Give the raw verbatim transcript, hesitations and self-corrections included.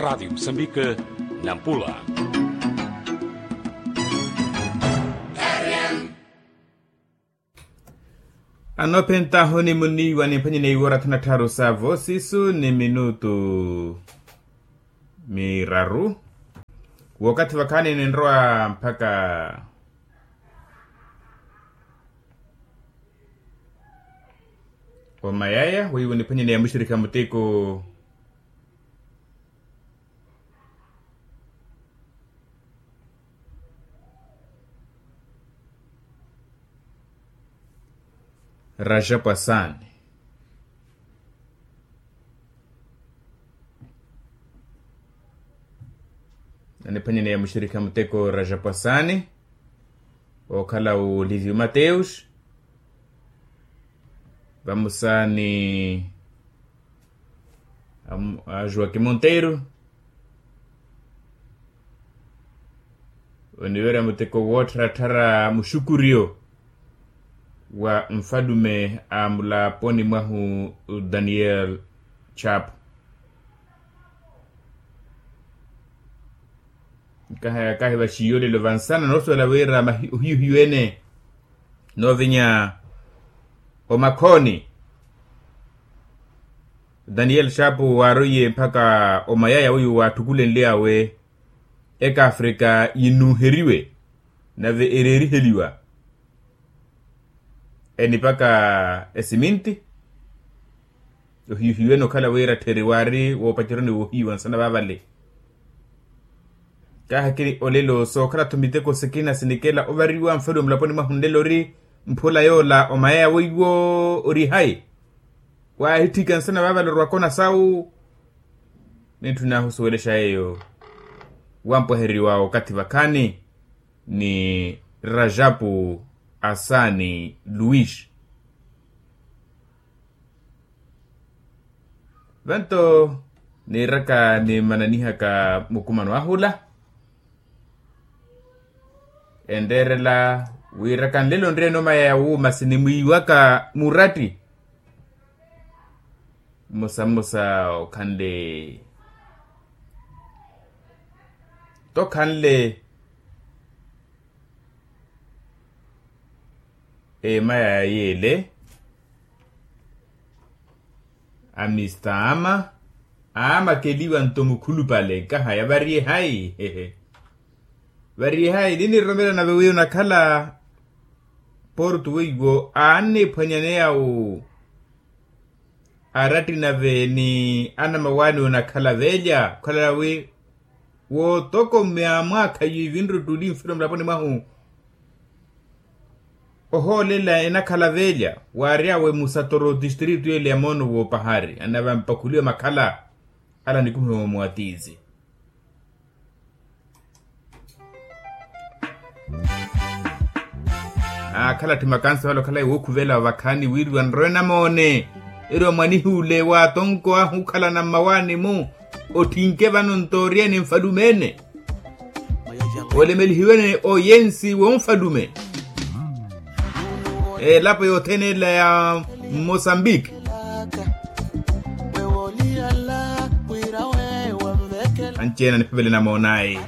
Rádio Moçambique, Nampula. Anoopentahu ni muniiwa nimphwanyeni iwora thanu na tthaaru sa voosisu ni minutu miraru. Wookathi vakhaani ninrowa mpakha omayaya weiwo niphwanyeni ya muxirikha muteko. Rajapu asaani. Aniphwanyeni ya muxirikha muteko rajapu asaani. Ookhala oliviu mateus. Vamosa ni a joaquim monteiro. Oniwerya muteko woottharattharya muxukuriyo wa nfalume a mulaponi mwahu daniel chapo. Nkahaya kahi vaxiyo lelo vansana noosuwela wira ohiyu hiyu ene noovinya omakhooni. Daniel chapo waaroiye mpakha omayaya weiwo waatthukulenly'awe ekaafrika yinuuheriwe nave ereeriheliwa enipaka esiminti. Ohiyu hiyu ene okhala wira ttheri waari woopaceroni woohiyu vansana vaavale. Kaahakiri olelo sookhala-tho miteko sikina sinikela ovariwa nfalume mulaponi mwahu nlelo ori mphula yoola omayaya weiwo ori hayi. Waahitthika nsana vaavale orwa kona sawu. Nitthu naahusuwelexa yeeyo wampwaheriwa okathi vakhaani ni rajapu asaani luis. Vanto niiraka nimananihaka mukumano ahula enreerela wiiraka nlelo nreene omayaya wuuma sinimwiiwaka muratti. Mmosa mmosa okhanle tokhanle emayaya yeele. Amista ama amakeliwa nto mukhulupale nkahaya variye hayi. Variye hayi niniroromela nave wiyo nakhala portu weiwo aanniphwanyaneya awo. Aratti nave ni anamawaani onakhala velya khwalala wi wootokomya mwaakha yiivinre ottuli nfiro mulaponi mwahu. Ohoolela enakhala velya waaryawe musatoro distritu yele ya moono woopahari anavampakhuliwa makhala ala nikumihiwa mwatiizi. Akhala tthi makansi wala okhalayi wookhuvela ovakhaani wiriwa nrowe namoone. Eri omwanihi ule wa atonko ahu okhalana mmawaani-mu otthinke vano ntooriyeni nfalume-ene. Olemelihiwene oyensi wonfalume elapo yothene ela ya mosambiki. Anci-ene aniphavele namoonayi.